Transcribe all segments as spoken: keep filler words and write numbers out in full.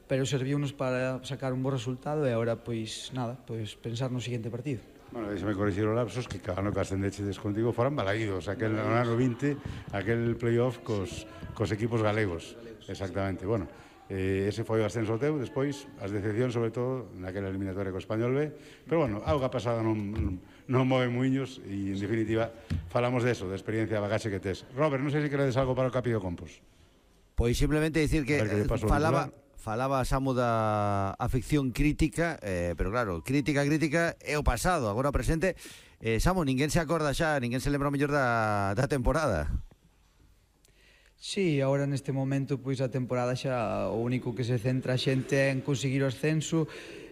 pero serviunos para sacar un bo resultado e agora, pois, nada, pois pensar no seguinte partido. Bueno, deixame corrixir o lapsos que cada ano que ascendechedes contigo foran balaídos, aquel no ano vinte, aquel playoff cos, cos equipos galegos, exactamente, bueno. Eh, ese foi o ascenso teu, despois as decepcións sobre todo naquela eliminatoria co Español B, pero bueno, auga pasada non, non, non move muiños e en definitiva falamos de eso, de experiencia, bagaxe que tes. Robert, non sei se queredes algo para o Capi do Compos. Pois simplemente dicir que, que falaba falaba Samu da afección crítica, eh, pero claro, crítica, crítica é o pasado, agora o presente. eh, Samu, ninguén se acorda xa, ninguén se lembra o mellor da, da temporada. Sí, agora neste momento pois a temporada xa o único que se centra a xente é en conseguir o ascenso.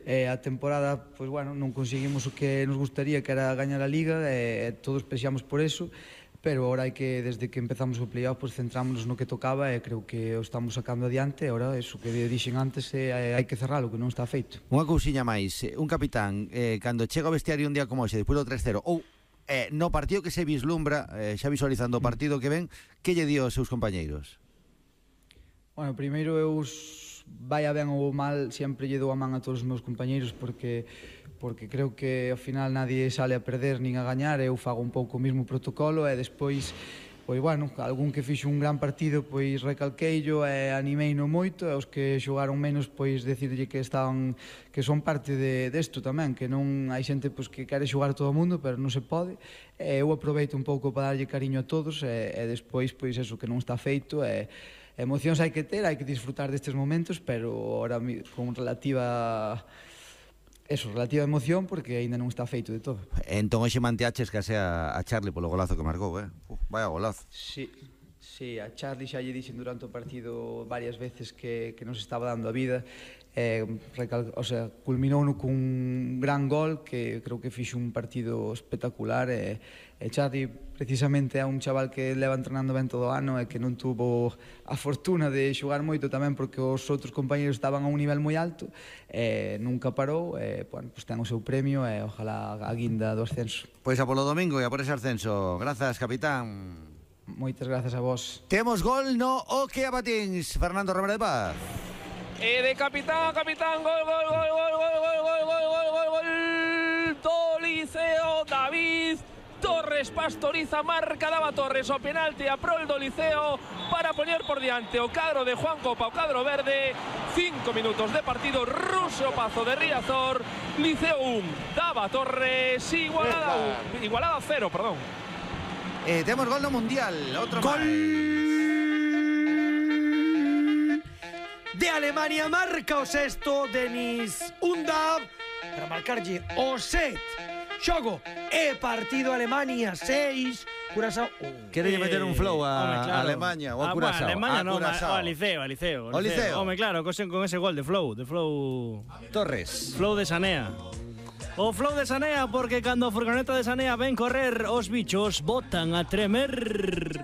eh, a temporada, pois bueno, non conseguimos o que nos gustaría, que era gañar a Liga, e eh, todos pexamos por eso, pero agora hai que, desde que empezamos o playoff, pois centrámonos no que tocaba e creo que o estamos sacando adiante. Agora, eso que dixen antes, eh, hai que cerralo, que non está feito. Unha cousiña máis, un capitán, eh, cando chega ao vestiario un día como hoxe, despois do tres cero, ou Eh, no partido que se vislumbra, eh, xa visualizando o partido que ven, que lle dio aos seus compañeiros? Bueno, primeiro eu, vaya ben ou mal, sempre lle dou a man a todos os meus compañeiros, porque porque creo que ao final nadie sale a perder nin a gañar. Eu fago un pouco o mesmo protocolo e despois, pois bueno, algún que fixo un gran partido, pois recalqueillo e animeino moito, e os que xogaron menos, pois decirlle que estaban, que son parte de desto tamén, que non hai xente pois que quere xogar todo o mundo, pero non se pode. E eu aproveito un pouco para darlle cariño a todos, e, e despois pois eso que non está feito, e emocións hai que ter, hai que disfrutar destes momentos, pero ahora con relativa eso, relativa emoción, porque aínda non está feito de todo. Entón hoxe manteaches case a, a Charlie polo golazo que marcou, eh? Uh, vaya golazo. Sí, sí, a Charlie xa lle dixen durante o partido varias veces que, que nos estaba dando a vida. Eh, recal, o sea, culminou no cun gran gol, que creo que fixo un partido espectacular. E, e Charlie precisamente é un chaval que leva entrenando ben todo o ano e que non tuvo a fortuna de xogar moito tamén porque os outros compañeros estaban a un nivel moi alto, e nunca parou. E, bueno, pues ten o seu premio e ojalá a guinda do ascenso. Pois a polo domingo e a por ese ascenso. Grazas, capitán. Moitas grazas a vos. Temos gol no O que a Patins, Fernando Romero de Paz. E de capitán a capitán, gol, gol, gol, gol, gol, gol, gol, gol, gol, gol, gol do Liceo. David Torres Pastoriza, marca daba Torres o penalti a prol do Liceo para poñer por diante o cadro de Juan Copa, o cadro verde. Cinco minutos de partido, Ruso Pazo de Riazor, Liceo un, daba Torres, igualada un, igualada cero, perdón. Eh, temos gol no Mundial, outro gol máis. De Alemania, marca o sexto Denis Undav para marcarlle o set. Xogo e partido Alemania seis, Curazao un. Querelle meter un flow a, Home, claro. a Alemania ou a Ah, Curazao? bueno, Alemania a no, Curazao. a Liceo, a Liceo. O Liceo. Home, claro, con ese gol de flow, de flow Torres. Flow de Sanea. O flow de Sanea, porque cando a furgoneta de Sanea ven correr, os bichos botan a tremer.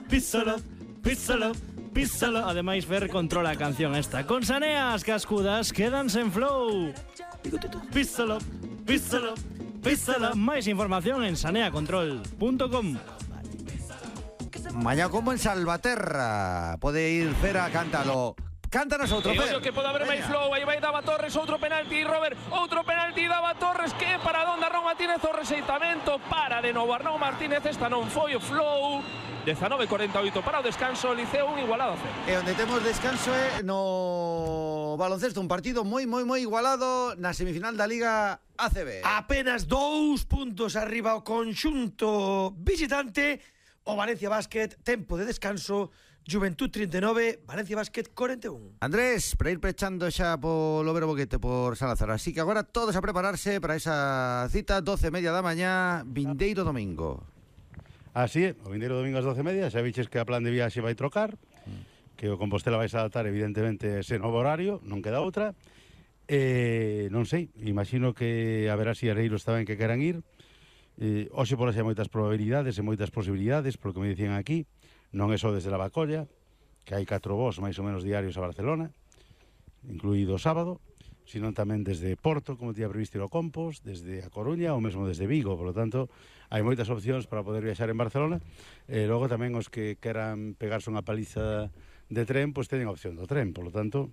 Písalo, písalo, písalo. Ademais, Fer controla a canción esta. Con Sanea as cascudas quedanse en flow. Písalo, písalo, písalo. Máis información en sanea control punto com. Mañá como en Salvaterra. Pode ir Fer a cántalo. Cántanos outro, E Fer. ollo que pode haber máis flow. Aí vai Dava Torres, outro penalti, Robert, outro penalti, Dava Torres, que para donde Arnau Martínez, o rexeitamento para de novo Arnau Martínez. Esta non foi o flow. Dezanove cuarenta e oito para o descanso, Liceo un, igualado a cero. E onde temos descanso é no baloncesto, un partido moi, moi, moi igualado na semifinal da Liga A C B. Apenas dous puntos arriba o conxunto visitante. O Valencia Basket, tempo de descanso. Juventud trinta e nove, Valencia Basket cuarenta e un. Andrés, para ir pechando xa polo Vero Boquete por Salazar. Así que agora todos a prepararse para esa cita, doce e media da mañá, vindeiro domingo. Así é, o vindeiro domingo ás doce e media. Xa viches que a plan de viaxe vai trocar, que o Compostela vai se adaptar evidentemente ese novo horario, non queda outra. E non sei, imagino que haberá siareiros tamén que queran ir. Eh, hoxe por hoxe hai moitas probabilidades e moitas posibilidades, polo que me dicían aquí. Non é só desde la Bacolla, que hai catro voos máis ou menos diarios a Barcelona, incluído o sábado, sino tamén desde Porto, como tía previsto ir ao Compos, desde A Coruña ou mesmo desde Vigo. Por lo tanto, hai moitas opcións para poder viaxar en Barcelona. E logo tamén os que queran pegarse unha paliza de tren, pois teñen opción do tren. Por lo tanto,